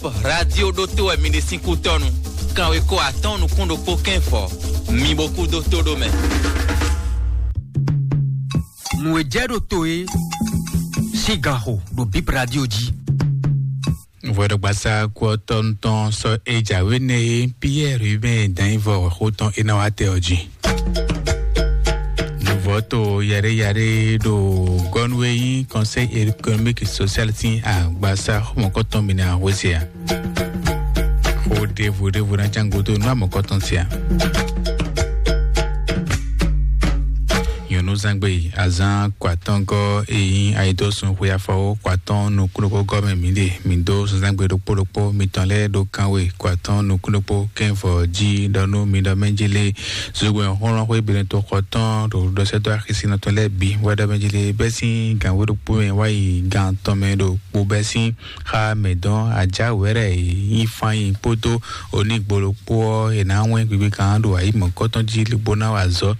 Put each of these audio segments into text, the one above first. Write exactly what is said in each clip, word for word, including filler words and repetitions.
Radio ɖótó wɛ mi ɖe sín kútɔ́nu. Kanweko atɔ́ɔ́n nukún ɖokpó kɛ́nfɔ, mi bo kú dó tó ɖó mɛ. Nǔ e jɛ ɖo to é sín ganxo ɖo Bip Radio jí. Vɔɖɔgbasa kú ɔtɔ́nu tɔn sɔ e jǎwe nɛ e Pierre Hubert Danyivɔ xó tɔn e ná wá tɛ ɔ́ jí. Nuvɔ́ to yɛɖé yɛɖé ɖo gɔ́nú e nyí Conseil économique et social sín agbasa xɔmɔkɔtɔn mi ná hwesɛ a? Xó ɖěvo ɖěvo ná cán gúdo nú amɔ̌kɔtɔn sia. Nyɔ̌núzangbe azán kɔ atɔ́ngɔ́ e nyí ayidósun xwe afɔwó kɔ atɔ́ɔ́n nukúnnukúgɔ́ mɛ mǐ ɖe. Mǐ dó zǎnzǎngbe ɖokpó ɖokpó mitɔn lɛ́ɛ ɖó kánwe kɔ atɔ́ɔ́n nukúnnukpó kɛ́nvɔ jí ɖɔ nú mi ɖɔ mɛ jí lé. Zogbɛ́n xɔlɔ́n xwé Benɛto xɔ tɔn ɖo ɖɔsɛ́dó axisínɔ tɔn lɛ́ɛ bǐ wɛ ɖɔ mɛ jí lé bɛ́ sín gǎn wé ɖokpó mɛ wá yi gǎn tɔn mɛ ɖo kpo bɛ́ sín xa mɛ dɔn ajá wɛ̌rɛ e nyí fán nyi kpódó onígbolo kpó ɔ́, è nǎ wɛ́n gbigbe kan ɖo ayǐ mɔ̌kɔtɔn jí lobo ná wa azɔ̌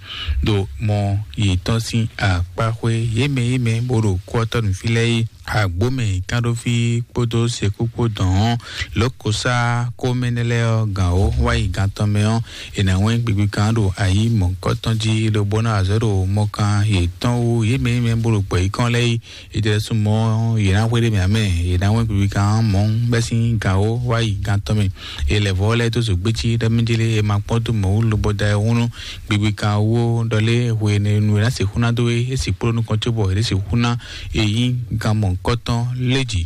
ɖo mɔ yětɔn sín akpá xwé yě mɛ yě mɛ bó ɖo kú ɔ́ tɔ́ nǔ fí lɛ́ɛ é. Agbǒmɛ kánɖófí kpódó sekú kpó dɔn ɔ́, lǒkosá kómɛnɛ lɛ́ɛ ɔ́ gǎn ó wá yi gán tɔn mɛ ɔ́, è nǎ wɛ́n gbigbe kan ɖo ayǐ mɔ̌kɔtɔn jí lobo ná wa azɔ̌ ɖo mɔkan yětɔn wú yě mɛ yě mɛ bó ɖo gbɔ̌ yí kɔn lɛ́ɛ é. Ìdɛ̀sùnmọ́ yě ná hwéɖé mì amɛ yě ná wɛ́n gbigbi kan mɔ̌ bɛ́ sín gǎn ó wá yi gán tɔn mɛ. È lɛ̌ vɔ́ lɛ́ɛ dó zǒgbécí ɖɔ mɛ jélé è ma kpɔ́n dó mɔ̌ wú lobo da ɛ húnú gbigbi kan wú ɖɔ lé hwenɛ́nu è nǎ sixú ná dó é é sixú kpló nukɔn cóbɔ è nǎ sixú ná è nyí gán mɔ̌hunkɔtɔn lé jǐ.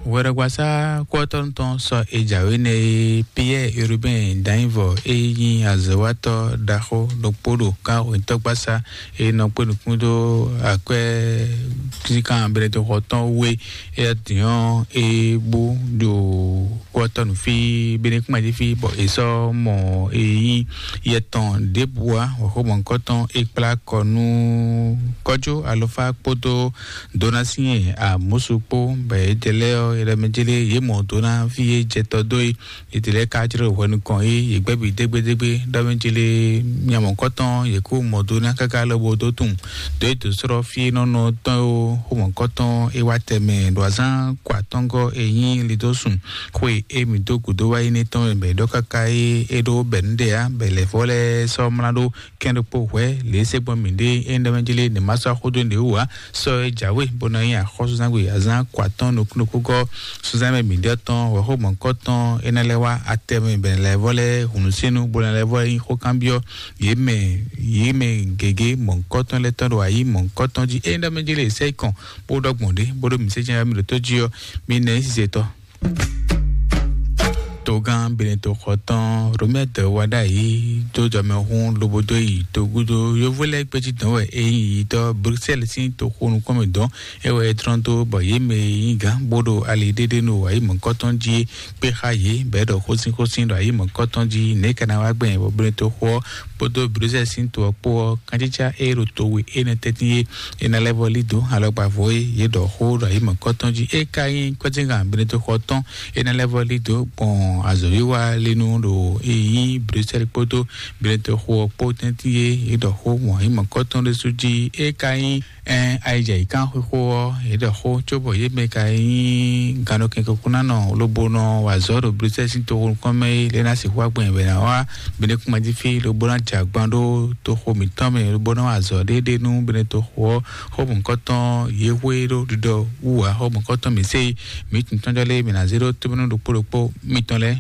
Hwɛɖɔgbasá kúɔtɔ́nu tɔn sɔ è jǎwe nɛ e Piyɛ́ɛ Urubɛ́n Danyivɔ e nyí azɔ̌watɔ́ ɖaxó ɖokpó ɖo kánhwintɔ́gbasá e nɔ kpé nukún dó akwɛ́ síkan Benɛtoxɔ tɔn wú é, é dǐn é bú ɖo kúɔtɔ́nu fí Benɛkúmají fí bɔ è sɔ́ mɔ e nyí yɛ tɔn ɖěbǔ wá, wɔ̌xómɔ̌hunkɔtɔn é kplá kɔ nú kɔ́jó alɔfá kpódó Dona sín e amǔsu kpó bɔ yě jɛ lɛ́ɛ ɔ́, yě ɖɔ mɛ jélé yě mɔ Dona fí e jɛ tɔ dó é. Yě lɛ́ɛ ka jló hwɛ nukɔn é, yě gbɛ́ bǐ dégbédégbé ɖɔ mɛ jélé nya mɔ̌kɔtɔn yě kó mɔ Dona káká lobo dó tunwun dó é dǒ slɔ́ fí e nɔ nɔ tɔn é ó xó mɔ̌kɔtɔn é wá tɛmɛ ɖo azán kɔ atɔ́ngɔ́ e nyí lidósun xwe e mǐ dó gǔdo wá yi nɛ́ tɔn mɛ bɔ é ɖɔ káká é é ɖó bɛ̌ nú ɖe ǎ, bɔ è lɛ̌ vɔ́ lɛ́ɛ sɔ́ mlá ɖó kɛn ɖokpó hwɛ̌ lě e se gbɔn mǐ ɖe é ɖɔ mɛ jí lé nǐ ma sɔ́ xó dó nǔɖé wú ǎ. Sɔ e jǎwe bó ná nyí axɔ́súzangbe azán kɔ atɔ́ɔ́n nukúnnukúgɔ́ súnzán mɛ mǐ ɖɔ tɔn wɛ̌xómɔ̌kɔtɔn é ná lɛ́ wá atɛ mɛ bɛ̌ lɛ́ vɔ́ lɛ́ɛ hǔnúsínnú bó ná lɛ́ vɔ́ nyí xókanbyɔ́ yě mɛ yě mɛ gěgé mɔ̌hunkɔtɔn lɛ́ɛ tɔn ɖo ayǐ mɔ̌hunkɔtɔn jí é ɖɔ mɛ jí lé sɛ́ kɔn bó ɖɔ gbɔn ɖě bó ɖó mǐ sé jɛ́n mǐ ɖo tó jí ɔ́, mǐ nɛ nyí sizetɔ́. Togán Benɛtoxɔ tɔn Romɛ́ dɛ wá ɖ'ayǐ dó jɔmɛhún lobo dó yi togúdo yovó lɛ́ɛ gbéjí dɔn wɛ é nyí yitɔ́ Bruxelles sín toxo nukɔn mɛ dɔn é wɛ é tlɔ́n dó bɔ yě mɛ e nyí gǎn bó ɖo ali ɖéɖé nú ayǐ mɔ̌kɔtɔn jí é kpé xá yě bɔ é ɖɔ xósínxósín ɖo ayǐ mɔ̌kɔtɔn jí nɛ̌ ka ná wá gbɛn bɔ Benɛtoxɔ ɔ́ kpódó Bruxelles sín to ɔ́ kpó ɔ́, kanjítá e ɖo to we énɛ́ tɛ́ntin é, é ná lɛ́ vɔ́ lí dó alɔgbavɔ e yě ɖɔ xó ɖo ayǐ mɔ̌kɔtɔn jí. É ka nyí kwɛ́zíngan Benɛtoxɔ tɔn é ná lɛ́ vɔ́ lí dó gbɔn azɔ̌wiwa linu ɖo e nyí Bruxelles kpódó Benɛtoxɔ ɔ́ kpó tɛ́ntin é, yě ɖɔ xó gbɔn ayǐ mɔ̌kɔtɔn ɖésú jí. É ka nyí ɛn ayijɛ yě kán xwixwó ɔ́, yě ɖɔ xó cóbɔ yě mɛ ka nyí gannɔkɛnkɔkúnánɔ lobo nɔ wa azɔ̌ ɖo Bruxelles sín toxo nukɔn mɛ é, lě ná sixú wá gbɔn yě bɔ è nǎ wá Benɛkúmají fí lobo ná jɛ agban ɖó toxo mǐtɔn mɛ lobo ná wa azɔ̌ ɖéɖé nú Benɛtoxo ɔ́. Xó mɔ̌hunkɔtɔn yě hwe ɖó ɖiɖɔ wú ǎ, xó mɔ̌hunkɔtɔn mǐ se mǐ tun tɔn jɔ lé mǐ ná zé ɖó tómɛnú ɖokpó ɖokpó mitɔn lɛ́ɛ.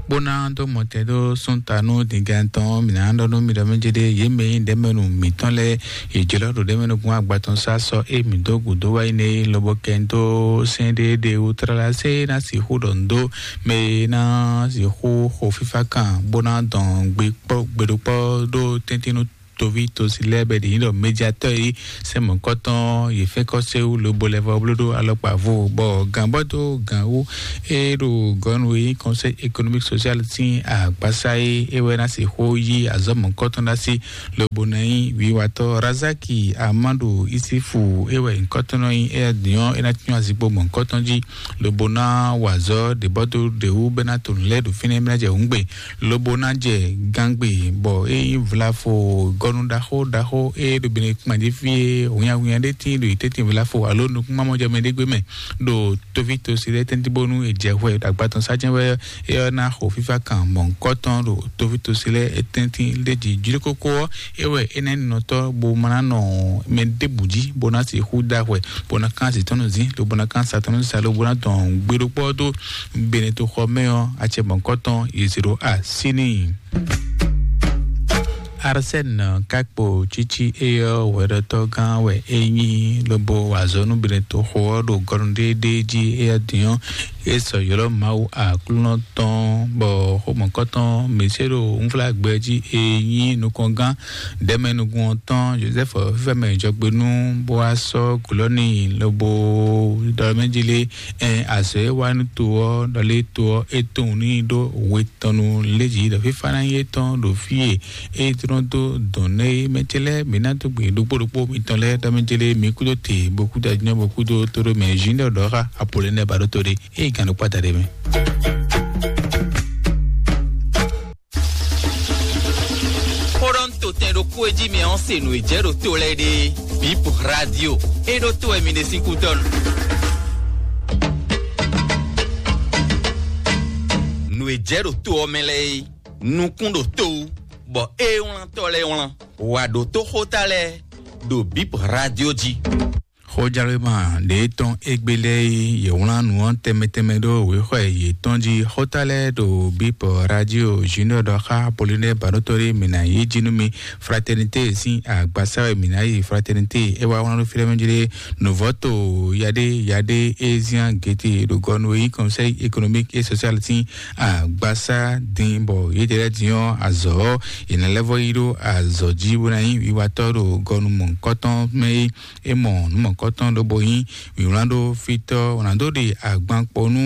Bó ná dó mɔtɛn dó sún ta nú dǐngán tɔn mǐ ná ɖɔ nú mi ɖɔ mɛ jé ɖé yě mɛ nyí ɖɛ̌mɛnu mǐtɔn lɛ́ɛ yě jlɔ́ ɖo ɖɛ̌mɛnu gbɔn agba tɔn sá sɔ́ é mǐ dó gǔdo wá yi nɛ é lobo kɛ dó sɛ́n ɖé ɖe wú tlala sé ná sixú ɖɔ nǔ dó mɛ e ná sixú xo fífá kan bó ná dɔn gbe kpɔ́ gbe ɖokpɔ́ ɖó tɛ́ntin nú toví tosi lɛ́ɛ bɛ ɖě nyí ɖɔ médiatɔ́ e sɛ́n mɔ̌kɔtɔn yě fɛ́n kɔ́ séwú lobo lɛ́ vɔ bló ɖó alɔkpa vo bɔ gǎnbɔ́ dó gǎn wú é ɖo gɔ̌nu e nyí Conseil économique social sín agbasa e é wɛ ná sixú yí azɔ̌ mɔ̌kɔtɔn ná sí lobo ná nyí wiwatɔ́ Razaki Amadu Isifu é wɛ nyǐkɔtɔn nɔ nyí éyɛ́ din ɔ́ é ná cyɔ́n azikpo mɔ̌kɔtɔn jí lobo ná wa azɔ̌ ɖě bɔ dó ɖě wú bɛ́ ná to nǔ lɛ́ɛ ɖo fínɛ́ bɛ́ ná jɛ hǔngbe lobo ná jɛ gángbe bɔ é nyí vlafo gɔ́ Ɔnu ɖaxó ɖaxó e ɖo bene kpanjí fí e hunyahunya ɖé tín ɖo yi tɛ́ntin vla fo alo nukúnmamɔjɔ mɛ ɖé gbé mɛ ɖo tóví tosi lɛ́ɛ tɛ́ntin bónú è jɛ hwɛ agbatɔn sá jɛ́n wɛ é ɔ́ ná xo fífá kan mɔ̌hunkɔtɔn ɖo tóví tosi lɛ́ɛ tɛ́ntin ɖé jí jlí kókó ɔ́, é wɛ é ná nyí nɔtɔ́ bó ma ná nɔ mɛ ɖěbǔ jí bó ná sixú da hwɛ bó ná kán azǐ tɔn nú zǐn lobo ná kán sa tɔn nú sa lobo ná dɔn gbeɖokpɔ́ dó bene toxɔ mɛ ɔ́, acɛ mɔ̌hunkɔtɔn yi zě ɖo así n'i. Arsène ká kpo tsitsi éyɔ́ hwɛɖɔtɔ́ gán wɛ é nyí lobo wa azɔ̌ nú Benetoxo ɔ́ ɖo gɔnu ɖéeɖée jí éyɛ́ din ɔ́, é sɔ ylɔ́ Mawu Aklúnɔ tɔn, bɔ xomɔkɔ́tɔn Mɛsɛ́ ɖo unflágbɛ jí é nyí nukɔngán ɖɛ̌mɛnukún ɔ́ tɔn Jozɛ́fu fífá mɛ jɔgbenú, bó wá sɔ́ glɔ́ n'i lobo ɖɔ mɛ jí lé. Ɛn azɔ̌ e wa nú to ɔ́, ɖɔ lé to ɔ́, é tunwun n'i ɖó we tɔn nu léjǐ ɖɔ fífá ná nyí étɔn ɖo fí e é tlɔ́n dó dɔn nɛ́ é. Mɛ ce lɛ́ɛ, mǐ ná dó gbe ɖokpó ɖokpó mitɔn lɛ́ɛ ɖɔ mɛ ce lɛ́ɛ, mi kúdó te, bo kúdó ajínɔ, bo kúdó tóɖó mɛ Junior ɖɔ xá Apolonɛ ba ɖó to ɖé. Ée gǎn ɖokpó ata ɖé mɛ. Xó ɖɔ un to tɛn ɖokpó e jí mi ɔ́ se nǔ e jɛ ɖo to lɛ́ɛ ɖe. Bip Radio. É ɖó to wɛ mi ɖe sín kútɔ́nu. Nǔ e jɛ ɖo to ɔ́ mɛ lɛ́ɛ é, nukún ɖo to wú, bɔ é wlántɔ́ lɛ́ɛ wlán. Wǎ ɖótó xóta lɛ́ɛ ɖo Bip Radio jí. Xójálwéma ɖě tɔn égbé lɛ́ɛ e yě wlán nǔ ɔ́ tɛnmɛ tɛnmɛ ɖó wěxɔ yětɔn jí. Xóta lɛ́ɛ ɖo Bip Radio Junior ɖɔ xá Apolonɛ Baɖótɔ́ ɖé mǐ ná yí jí nú mi. Fraternité sín agbasá wɛ mǐ ná yi. Fraternité é wá wlán ɖó fí lɛ́ɛ mɛ jí ɖé. Nǔvɔ́to yaɖé yaɖé é zián gěte ɖo gɔnu e nyí Conseil économique et social sín agbasá din, bɔ yědɛɛ lɛ́ɛ din ɔ́, azɔ̌ ɔ́, è nǎ lɛ́ vɔ́ yí ɖó azɔ̌ jí bó ná nyí wiwatɔ́ ɖo gɔnu mɔ̌hunkɔtɔn mɛ é. É mɔ nǔ mɔ̌hunkɔtɔn lobo nyí wǐwlán ɖó fítɔ́, wǒ ná dó ɖe agban kpo nú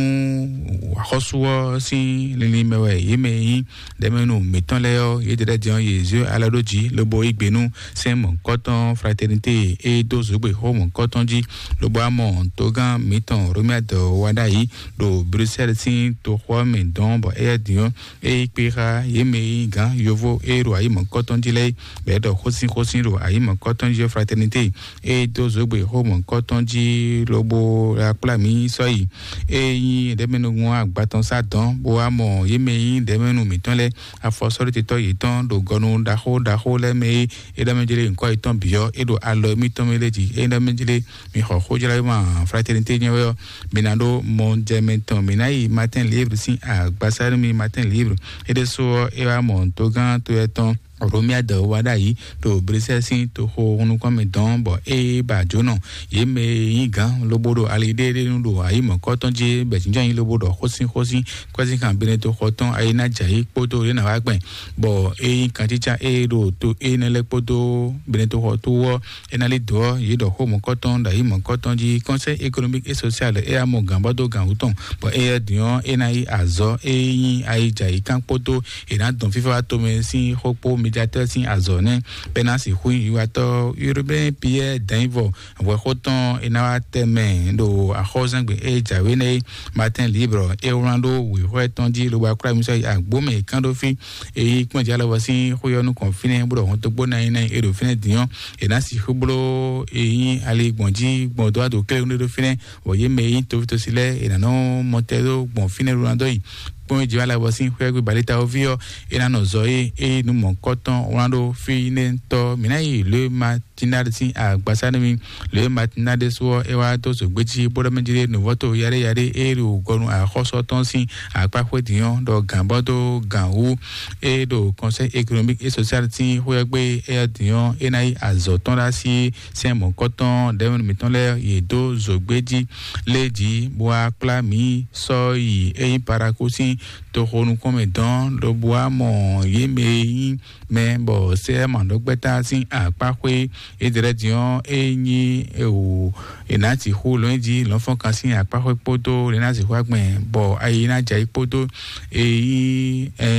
axɔ́sú ɔ́ sín linlin mɛ wɛ yě mɛ e nyí ɖɛ̌mɛnu mǐtɔn lɛ́ɛ ɔ́, yědɛɛ lɛ́ɛ din ɔ́, yě zé alɔ ɖó jǐ lobo yí gbe nú sɛ́n mɔ̌hunkɔtɔn Fraternité e dó zǒgbé xó mɔ̌hunkɔtɔn jí, lobo wá mɔ togán mǐtɔn Romuald wá ɖ'ayǐ ɖo Bruxelles sín toxo ɔ́ mɛ dɔn, bɔ éyɛ́ din ɔ́, é yí kpé xá yě mɛ e nyí gǎn yovo e ɖo ayǐ mɔ̌hunkɔtɔn jí lɛ́ɛ, bɔ é ɖɔ xósínxósín ɖo ayǐ mɔ̌hunkɔtɔn jí ɔ́, Fraternité e dó zǒgbé xó mɔ̌hunkɔtɔn jí lobo akplá mǐ sɔ́ yi. É nyí ɖɛ̌mɛnúgbɔn agbatɔn sá dɔn, bó wá mɔ yě mɛ e nyí ɖɛ̌mɛnu mǐtɔn lɛ́ɛ, afɔsɔ́ɖótetɔ́ yětɔn ɖo gɔnu ɖaxó ɖaxó lɛ́ɛ mɛ e é ɖɔ mɛ jlé nyǐkɔ yětɔn bǐ ɔ́, é ɖo alɔ mǐtɔn mɛ lɛ́ɛ jí. É ɖɔ mɛ jlé mi xɔ xójlawéma Fraternité nyɛ wɛ ɔ́, mi ná ɖó mɔ jɛ mɛ tɔn, mi ná yi Matin Libre sín agbasá nú mi. Matin Libre é ɖésú ɔ́, é wá mɔ togán to yɛ tɔn Romuald wá ɖ'ayǐ ɖo Bruxelles sín toxo nukɔn mɛ dɔn, bɔ é ba jǒnɔ yě mɛ e nyí gǎn lobo ɖo ali ɖéeɖéenu ɖo ayǐ mɔ̌kɔtɔn jí bɛ jínjɔ́n nyi lobo ɖɔ xósínxósín kwɛ́zínkan Benetoxɔ tɔn ayí ná jɛ ayǐ kpódó yě ná wá gbɛn, bɔ é nyí kantítsá e ɖo to énɛ́ lɛ́ɛ kpódó Benetoxɔ tó ɔ́, é ná lí dǒ ɔ́, yě ɖɔ xó mɔ̌kɔtɔn ɖo ayǐ mɔ̌kɔtɔn jí. Conseil économique et social é yá mɔ gǎn bɔ dó gǎn wú tɔn, bɔ éyɛ́ din ɔ́, é ná yí azɔ̌ e nyí ayijǎyíkan kpódó è nǎ dɔn fífá wá tomɛ sín xó kpó médiatɛ́ sín azɔ̌ nɛ́, bɔ é ná sixú nyí wiwatɔ́ Urbain Pierre Dainvɔ, hwɛxó tɔn è nǎ wá tɛ mɛ ɖo axɔ́zɛ́ngbe e jǎwe nɛ́ é. Matin Libre é wlán ɖó wěxɔ tɔn jí lobo akwlá mi sɔ́ yi agbó mɛ è kán ɖó fí. Èyí kpɔ́n jǎ lɔbɔ sín xó ɔ́ nukɔn fínɛ́ bó ɖɔ hɔn dó gbó ná nyí ná nyí é ɖo fínɛ́ din ɔ́, è nǎ sixú bló e nyí ali gbɔn jí gbɔn dó wá ɖo klé ɖé ɖó fínɛ́, bɔ yě mɛ e nyí toví tosi lɛ́ɛ è nǎ nɔ mɔ tɛ ɖó gbɔn fínɛ́ ɖó ná dó yi. Kpɔ́n jǐ wá lɛ́ bɔ sín xwé gbé balíta ɔ́ ví ɔ́, é ná nɔ zɔ é é nú mɔ̌kɔtɔn wlán ɖó fí nɛ́ tɔ́ mǐ ná yi lě ma Matinal sín agbasá nú mì. Lě Matinal ɖésú ɔ́, é wá dó zǒgbé jí bó ɖɔ mɛ jí ɖé nǔvɔ́to yaɖé yaɖé e ɖo gɔnu axɔ́sú tɔn sín akpá xwé din ɔ́ ɖɔ gǎn bɔ dó gǎn wú. E ɖo Conseil économique et social sín xwé ɔ́ gbé, éyɛ́ din ɔ́, é ná yí azɔ̌ tɔn ɖó así sɛ́n mɔ̌kɔtɔn ɖɛ̌mɛnu mǐtɔn lɛ́ɛ yě dó zǒgbé jí lé jí, bó wá kplá mǐ sɔ́ yi é nyí Paraku sín toxo nukɔn mɛ dɔn, lobo wá mɔ yě mɛ e nyí mɛ bɔ sɛ́ mǎɖɔgbɛ́ta sín akpáxwé. Edrɛ́ din ɔ́, é nyí ewu è nǎ sixú lɔn jí lɔnfɔnkan sín akpáxwé kpódó è nǎ sixú agbɛn bɔ ayi ná jɛ ayǐ kpódó e nyí ɛ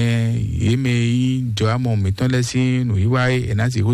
yě mɛ e nyí jɔ̌amɔ mǐtɔn lɛ́ɛ sín nǔwiwa e è nǎ sixú